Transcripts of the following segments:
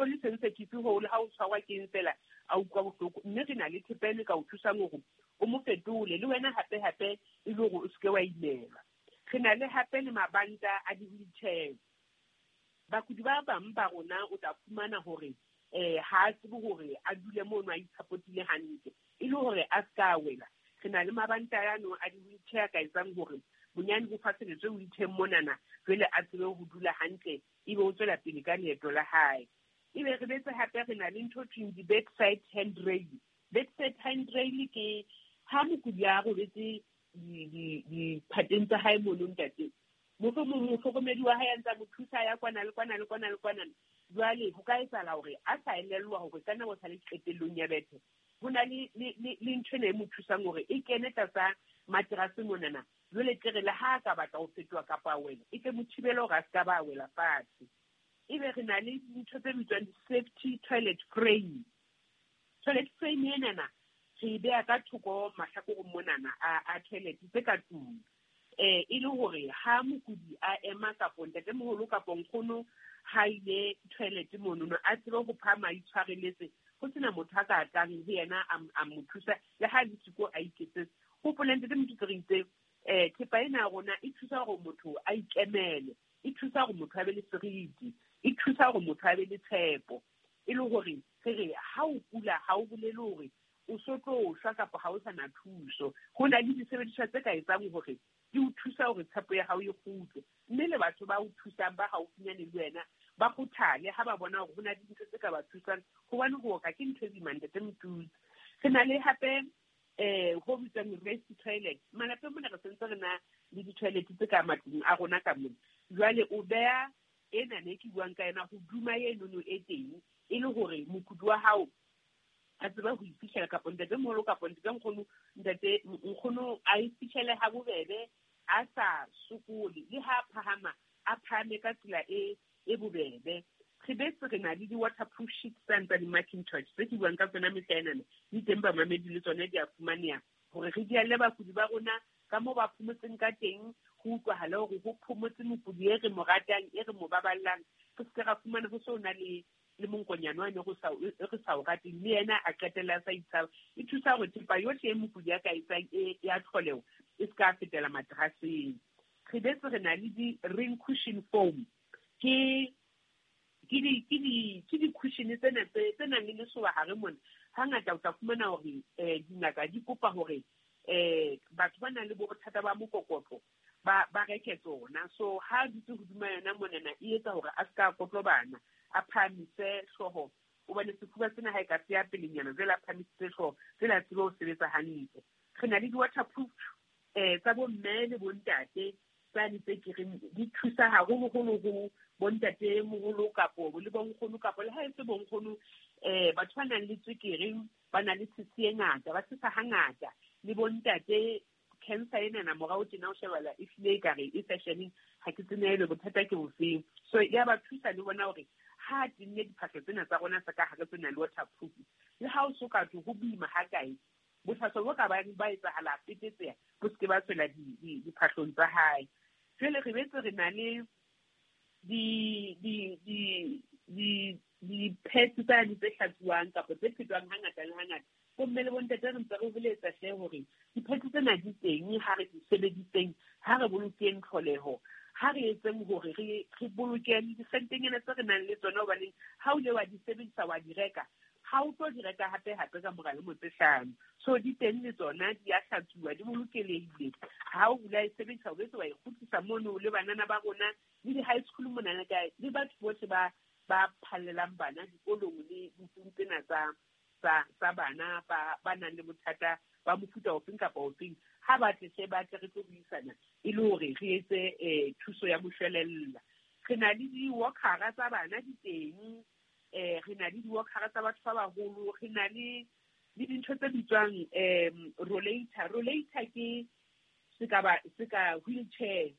so le sensitive hole ha o tshwarwa ke eng fela a utlwa bohloko. Mme re na le thepa eno e ka o thusang hore o mo fetole le wena hape hape e le hore o seke wa imelwa. Re na le hape le mabanta a di-wheelchair. Bakudi ba bang ba rona o tla fumana hore ha a tsebe hore a dule mono a itshapotile hantle e le hore a ska wela. Re na le mabanta ano a di-wheelchair ka etsang hore bonyane ho faseletswe wheelchair monana, jwale a tsebe ho dula hantle ebe o tswela pele ka leeto la hae. Ebe re betse hape re na le ntho thweng di-bedside handrail. Bedside handrail ke ha mokudi a robetse diphateng tsa hae mono ntate, mohlomong mohlokomedi wa hae a ntse a mo thusa ya kwana le kwana le kwana le kwana. Jwale ho ka etsahala hore a sa elellwa hore ka nako sa le qetellong ya bethe, ho na le ntho ena e mo thusang hore e kene tlasa materase monana. Jwale tle re le ha a ka batla ho fetoha kapa a wela, e tle mo thibele hore a ska ba a wela fatshe. Ebe re na le dintho tse bitswang di-safety toilet frame. Toilet frame enana re e beha ka thoko mahlakoreng monana a toilet tse ka tlung. E le hore ha mokudi a ema kapo ntatemoholo kapo nkgono ha ile toilet monono, a tsebe ho phahama a itshwareletse, ho sena motho a ka tlang ho yena a mo thusa le ha le siko a iketsetse. Hopola ntate Motutsi re itse thepa ena ya rona e thusa hore motho a ikemele, e thusa hore motho a be le seriti, e thusa hore motho a be le tshepo. E le hore re re ha o kula ha o bolele hore o so tlo shwa kapa ha o sa na thuso. Ho na le disebediswa tse ka etsang hore di o thusa hore tshepo ya hao e kgutle. Mme le batho ba o thusang ba haufinyane le wena ba kgothale ha ba bona hore ho na le dintho tse ka ba thusang, hobane ho oka ke ntho e boima ntate Motutsi. Re na le hape ho bitswang rest toilet. Malapeng mona re sentse re na le di-toilet tse ka matlung a rona ka mona. Jwale o beha ena ne ke buang ka yona hoduma enono e teng, e le hore mokudi wa hao a tsebe ho iphihlela kapo ntatemoholo kapo ntate nkgono, ntate nkgono a e fihlele ha bobebe, a sa sokole, le ha phahama a phahame ka tsela e bobebe. Re betse re na le di-waterproof sheets tsane tsa di-Macintosh tse ke buang ka tsona mehla enana, di teng bamamedi le tsona di a fumaneha hore re di alle bakudi ba rona ka moo ba phomotseng ka teng, ho utlwahale hore ho phomotse mokudi e re mo ratang, e re mo baballang, re se ke ra fumana ho so na le monkonyane wa ne re sa o rateng, le yena a qetella a sa itshaba. E thusa hore thepa yohle e mokudi a ka etsang e ya tlholeho e se ka fetela materaseng. Re betse re na le di-ring cushion foam, ke di-cushion tsena tse nang le lesoba hare mona. Hangata o tla fumana hore dingaka di kopa hore batho ba nang le bothata ba mokokotlo ba reke tsona. So ha dutse hodima yona monana e etsa hore a ska kotlobana, a phahamise hlooho, hobane sefuba sena ha e ka se ya pelenyana, jwale a phahamisitse hlooho, jwale a tsebe ho sebetsa hantle. Re na le di-waterproof tsa bomme le bontate tsane tse ke reng di thusa haholoholo ho bontate moholo kapo le bonkgono kapo le ha e se bonkgono, batho ba nang le tswekere ba na le tshisi e ngata, ba tshisa hangata, le bontate cancer enana morao tjena o shebala e hlile ekare e fashioneng, ha ke tsebe ebe bothata ke bofeng. So ya ba thusa le bona hore ha tenne diphahlo tsena tsa rona tsa ka hare tse nang le waterproof, le ha o so ka thwe ho boima ha kae, bohlaswa bo ka bang ba etsahala petetseha bo se ke ba tswela diphahlong tsa hae. Jwale re betse re na le di-pads tsane tse hlatsuwang kapa tse phetwang hangata le hangata. Bomme le bontate re ntse re boletsa hle hore di-pads tsena di teng, ha re di sebediseng, ha re bolokeng tlholeho, ha re etseng hore re boloke disentenyana tse re nang le tsona, hobaneng ha o ile wa di sebedisa wa di reka, ha o tlo di reka hape hape ka mora lemo tse 5. So di teng le tsona di a hlatsuwa, di bolokelehile. Ha o bula e sebedisa, o betse wa e kgutlisa mono le banana ba rona le di-high school monana kae, le batho bohle ba phallelang bana dikolong le ditsing tsena tsa bana ba nang le bothata ba mofuta ofeng kapa ofeng, ha ba tle hle ba tle re tlo buisana e le hore re etse thuso ya moshwelella. Re na le di-walkera tsa bana di teng, re na le di-walkera tsa batho ba baholo, re na le dintho tse bitswang rollator. Rollator ke seka wheelchair,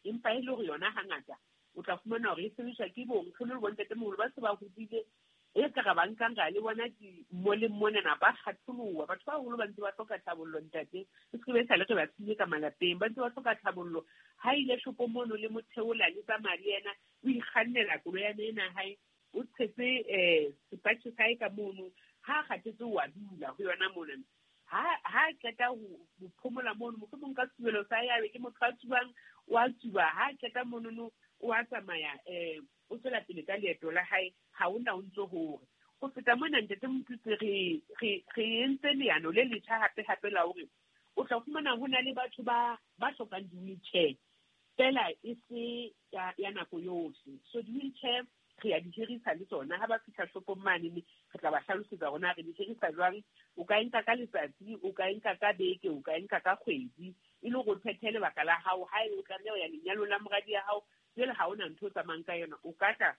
empa e le hore yona hangata o tla fumana hore e sebediswa ke bonkgono le bontatemoholo ba se ba hodile, e ka re ba nkang ra le bona di-mall-eng monana ba kgatholoha. Batho ba baholo ba ntse ba hloka tlhabollo ntate, e se be sale re ba siile ka malapeng, ba ntse ba hloka tlhabollo. Ha ile shopong mono le motheola le tsamaya le yena, o ikgannela koloi ya ena hae, O tshetse sepatjhe sa hae ka mono, ha a kgathetse o a dula ho yona mona. Ha a qeta ho phomola mono, mohlomong ka setubelo sa hae, a be ke motho a tsubang, o a tsuba. Ha a qeta monono, o a tsamaya, o tswela pele ka leeto la hae, ha hona o ntso hore. Ho feta mona, Ntate Motutsi, re entse leano le letjha hape hape la hore o tla fumana ho na le batho ba hlokang di-wheelchair, fela e se ya nako yohle. So di-wheelchair re ya di hirisa le tsona. Ha ba fihla shopong mane, re tla ba hlalosetsa hore na re di hirisa jwang. O ka e nka ka letsatsi, o ka e nka ka beke, o ka e nka ka kgwedi, e le hore o phethe lebaka la hao. Ha o tlameha ho ya lenyalong la moradi ya hao, jwale ha hona ntho o tsamayang ka yona, o ka tla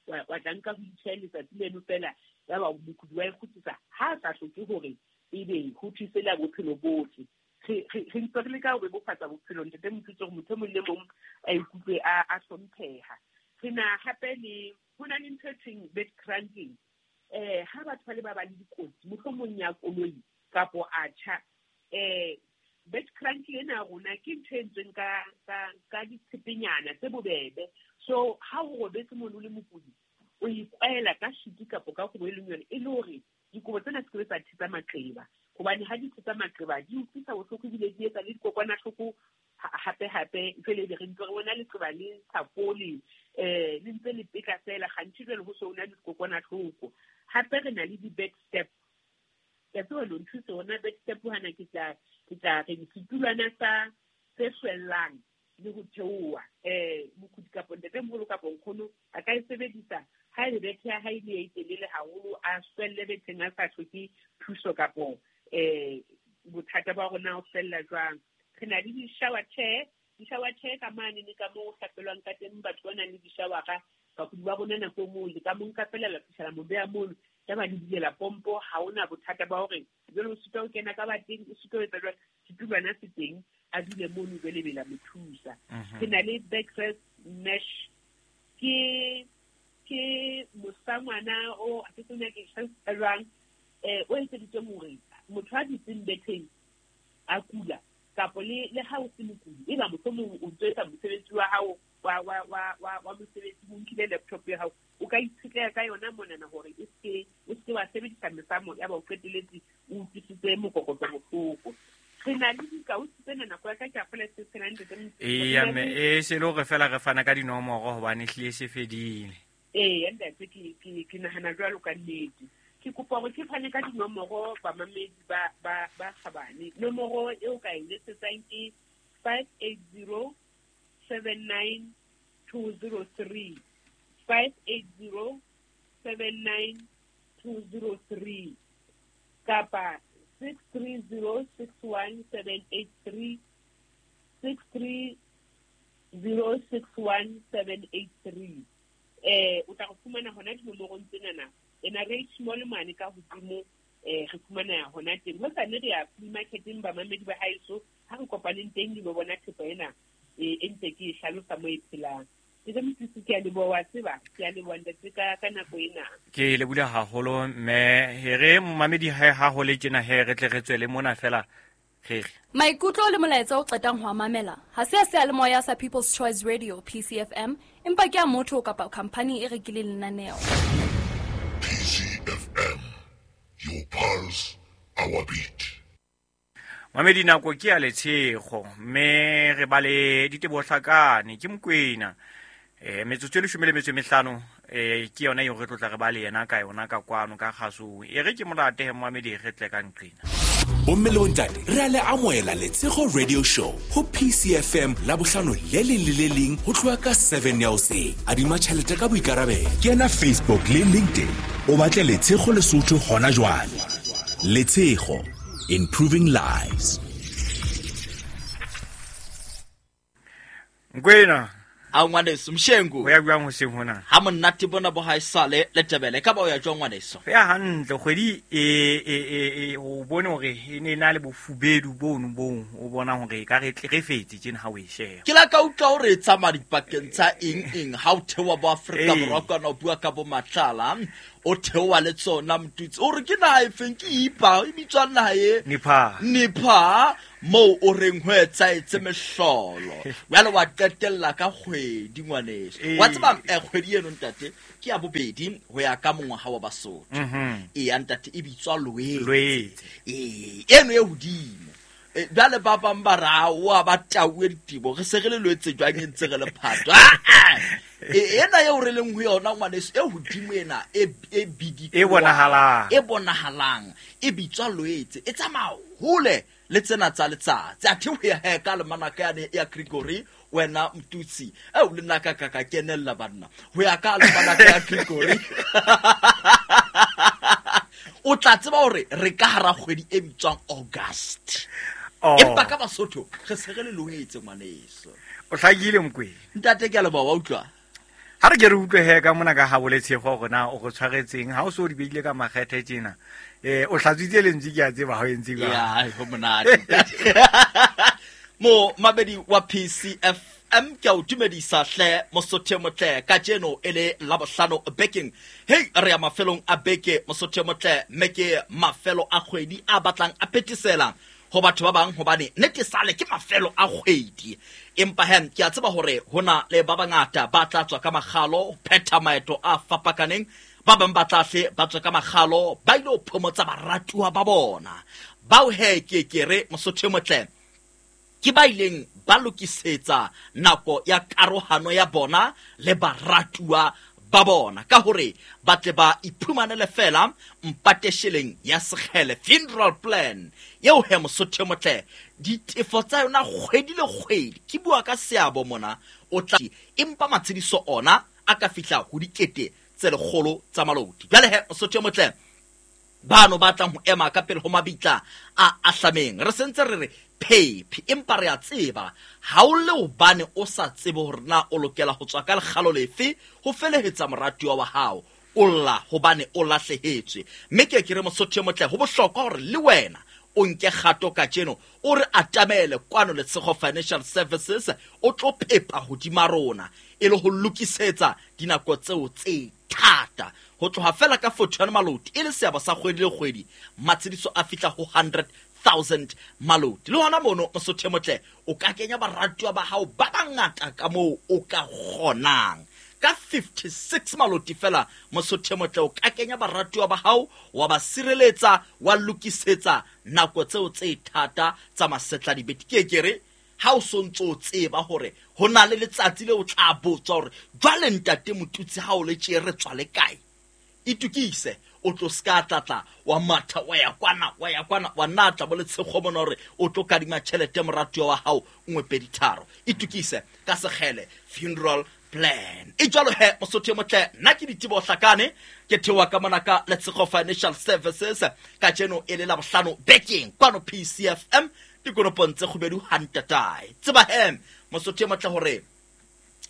wa tla nka wheelchair letsatsi leno fela, ya ba mokudi wa e kgutlisa. Ha a sa hloke hore ebe ho thuse la bophelo bohle. Re ntse re leka ho bebofatsa bophelo, Ntate Motutsi, hore motho e mong le mong a ikutlwe a hlompheha. Re na hape le ho na le ntho e thweng bed cranking. Ha batho ba le ba ba le dikotsi, mohlomong ya koloi kapo a tjha, bed cranking ena ya rona ke ntho e entsweng ka ditshepenyana tse bobebe. So ha o robetse mono o le mokudi, o ikwaela ka sheet kapo ka kobo e leng yona, e le hore dikobo tsena se ke tsa thetsa maqeba, hobane ha di thetsa maqeba di utlwisa bohloko ebile di etsa le dikokwanahloko hape hape. Jwale ebe re ntse re bona leqeba le sa fole, le ntse le petla fela, kganthe jwale ho so ho na le dikokwanahloko. Hape re na le di-bed step. Ke a tseba lo nthuse hona bed step hana, ke tla re setulwana sa se hlwellang le ho theoha. Mokudi kapo ntatemoholo kapo nkgono a ka e sebedisa ha e bethe ya hae le e telele haholo, a hlwelle betheng a sa hloke thuso kapo bothata ba rona o hlwella jwang. Re na le di-shower chair, di-shower chair ka mane le ka moo ho hlapelwang ka teng, batho ba nang le di-showera, bakudi ba rona nako e nngwe le ka mo nka fela la fihlela mo beha mono, ya ba le bulela pompo, ha hona bothata ba hore jwale o sitwa ho kena ka bateng, o sitwa ho etsa jwang, setulwana se teng, a dule mono jwale be la mo thusa. Re na le backrest mesh, ke mosangwana o a ke tsebe ke hlalosa jwang, o etseditsweng hore motho a dutseng betheng a kula, kapo le ha o se mokudi, eba mohlomong o ntso etsa mosebetsi wa hao wa mosebetsi, o nkile laptop ya hao, o ka itshetleha ka yona monana hore o seke wa sebedisa mesamo ya ba o qeteletse o utlwisitse mokokotlo bohloko. Re na le dikausi tsena, nako ya ka ke a fola se tshelang ntate Motho. Eya, mme, se le hore fela re fana ka dinomoro hobane ehlile se fedile. Eya, ntate, ke nahana jwalo ka nnete. Ke kopa hore ke fane ka dinomoro bamamedi ba kgabane. Nomoro eo ka e letsetsang ke 580 79 203. 580 79 203 kapa 630 61 783, 630 61 783. O tla go fumana hona dinomorong tsenana. Ena re small mane ka hodimo, re fumana hona teng. Ho sane re ya flea marketeng bamamedi ba haeso, ha re kopaneng teng le bona thepa ena e ntse ke e hlalosa mo e phelang. Ke re Motutsi, ke a leboha, wa tseba, ke a leboha ntate ka nako ena. Ke lebohile haholo mme, he re momamedi ha ho le tjena he re tle re tswele mona fela re re. Maikutlo le molaetsa o qetang ho a mamela ha se a seyalemoya sa People's Choice Radio PCFM, empa ke a motho kapa khampani e rekileng lenaneo. PCFM, your pulse, our beat. Mamedi, nako ke ya letshego mme re ba le diteboho hlakane ke Mokwena. Metsotso e 15 ke yona eo re tlotla re ba le yena ka yona ka kwano ka kgasong. E re ke molate he momamedi, re tle ka nqena. Bomme le bontate, re a le amohela Letshego Radio Show ho PCFM la bohlano le leng le le leng ho tloha ka 7 ya hoseng. Adima tjhelete ka boikarabelo. Kena Facebook le LinkedIn, o batle Letshego Lesotho hona jwale. Letshego, improving lives. Nkwena. A ngwaneso, Mshengu. Ho ya jwang hoseng hona? Ha monate bona bo haesale le Tebele, ka ba o ya jwang ngwaneso? Ho ya hantle, kgwedi o bone hore e ne e na le bofubedu bono boo, o bona hore e ka re tle re fetse tjena ha o e sheba. Ke la ka utlwa hore e tsamaya dipakeng tsa eng eng ha o theoha bo Afrika Borwa kwana o bua ka bo Matlala. O theoha le tsona Motutsi, o re ke naha e feng, ke ipa e bitswang naha e Nepal. Nepal, moo o reng ho etsaetse mehlolo. Jwale wa qetella ka kgwedi ngwaneso. Wa tseba kgwedi eno ntate ke ya bobedi ho ya ka mongwaha wa Basotho. Eya ntate, e bitswa Loetse. Loetse. Ee, eno e hodimo. Jwale ba bang ba re, aowa, ba tauwe ditebo, re se re le Loetse jwang e ntse re le Phato. Ena eo re leng ho yona ngwaneso, e hodimo ena, e bidikoa, E bonahalang. E bonahalang, e bitswa Loetse, e tsamaya hole le tsena tsa letsatsi. Athe ho ya he ka almanaka yane ya Gregory, wena Motutsi, eo le nna ka ka ka kenella banna. Ho ya ka almanaka ya Gregory, o tla tseba hore re ka hara kgwedi e bitswang August. Oh. Empa ka Basotho re se re le Loetse ngwaneso. O hlakile Mokwena. Ntate, ke a leboha, wa utlwa? Ha re ke re utlwe he ka mona ka ha Letshego hore na o re tshwaretseng, ha o so o di beile ka makgethe tjena. O hlatswitse lentswe, ke a tseba ha o entse jwang. Ya, ai, ho monate. Mo mabedi wa PCFM, ke a o dumedisa hle Mosotho e motle, kajeno e le Labohlano bekeng. Hei, re ya mafelong a beke Mosotho e motle, mme ke mafelo a kgwedi a batlang a phethesela ho batho ba bang, hobane nnete sale ke mafelo a kgwedi. Empa he, ke a tseba hore hona le ba bangata ba tla tswa ka makgalo ho phetha maeto a fapakaneng. Ba bang ba tla hle ba tswa ka makgalo ba ile ho phomotsa baratuwa ba bona. Bao he ke ke re Mosotho e motle, ke ba ileng ba lokisetsa nako ya karohano ya bona le baratuwa ba bona, ka hore ba tle ba iphumanele fela mpatesheleng ya sekgele funeral plan eo he Mosotho e motle, ditefo tsa yona kgwedi le kgwedi, ke bua ka seabo mona, o tla empa matshediso ona a ka fihla ho dikete tse lekgolo tsa maloti. Jwale he Mosotho e motle, bano ba tlang ho ema ka pele ho mabitla a ahlameng, re sentse re re phephi, empa re a tseba ha o le hobane o sa tsebe hore na o lokela ho tswa ka lekgalo lefe ho felehetsa moratuwa wa hao, o lla hobane o lahlehetswe. Mme ke ke re Mosotho e motle, ho bohlokwa hore le wena o nke kgato kajeno, o re atamele kwano Letshego Financial Services, o tlo pepa hodima rona e le ho lokisetsa dinako tseo tse thata. Ho tloha fela ka 41 maloti e le seabo sa kgwedi le kgwedi, matshediso a fihla ho 100,000 maloti. Le hona mono Mosotho e motle, o ka kenya baratuwa ba hao ba bangata ka moo o ka kgonang. Ka 56 maloti fela Mosotho e motle, o ka kenya baratuwa ba hao, wa ba sireletsa, wa lokisetsa nako tseo tse thata tsa masetla dibete. Ke ke re ha o sontso o tseba hore ho na le letsatsi le o tla botswa hore jwale ntate Motutsi ha o le tje re tswa le kae, itukise, o tlo ska tlatla wa matha wa ya kwana, wa ya kwana, wa natla bo Letshego mona hore o tlo kadima tjhelete moratuwa wa hao nngwe pedi tharo. Itukise ka sekgele funeral plan. E jwalo he Mosotho e motle, nna ke Diteboho Hlakane, ke theoha ka mona ka Letshego Financial Services, kajeno e le Labohlano bekeng kwano PCFM, dikonopong tse kgubedu ha ntatae. Tseba he Mosotho e motle hore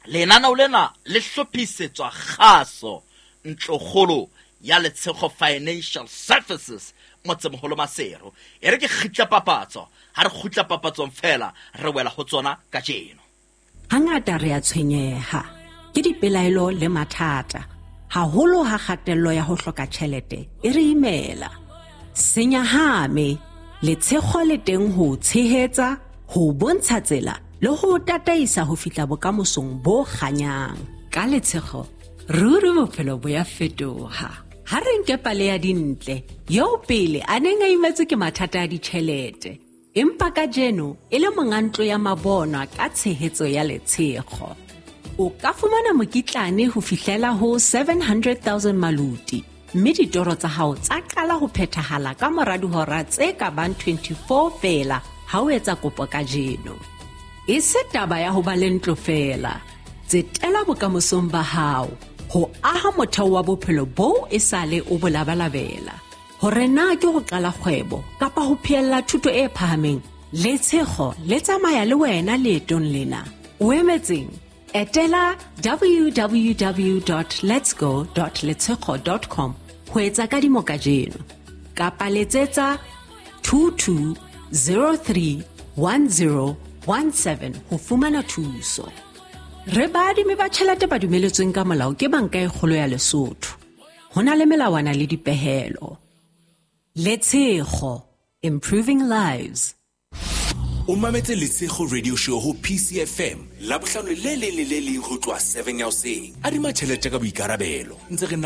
lenaneo lena le hlophisetswa kgaso ntlokgolo ya Letshego Financial Services motsemoholo Maseru. E re ke kgitla papatso, ha re kgutla papatsong fela re wela ho tsona kajeno. Hangata re a tshwenyeha ke dipelaelo le mathata, haholo ha kgatello ya ho hloka tjhelete e re imela. Senyahame, Letshego le teng ho o tshehetsa, ho o bontsha tsela le ho o tataisa ho fihla bokamosong bo kganyang. Ka Letshego, ruri bophelo bo ya fetoha. Ha re nke pale ya Dintle, eo pele a neng a imetswe ke mathata a ditjhelete, empa kajeno e le monga ntlo ya mabonwa ka tshehetso ya Letshego. O ka fumana mokitlane ho fihlela ho 700,000 maloti, mme ditoro tsa hao tsa qala ho phethahala ka mora dihora tse ka bang 24 feela ha o etsa kopo kajeno. E se taba ya ho ba le ntlo feela, tsetela bokamosong ba hao, ho aha motheo wa bophelo boo e sale o bo labalabela. Hore na ke ho qala kgwebo kapa ho phehella thuto e phahameng, Letshego le tsamaya le wena leetong lena. O emetseng? Etela www.letsgo.letshego.com ho etsa kadimo kajeno, kapa letsetsa 22031017 ho fumana thuso. Re baadimi ba tjhelete ba dumeletsweng ka molao ke Banka e Kgolo ya Lesotho. Ho na le melawana le dipehelo. Letshego, improving lives. O mametse Letshego Radio Show ho PCFM Labohlano le leng le le leng ho tloha 7 ya hoseng. Adima tjhelete ka boikarabelo. Ntse re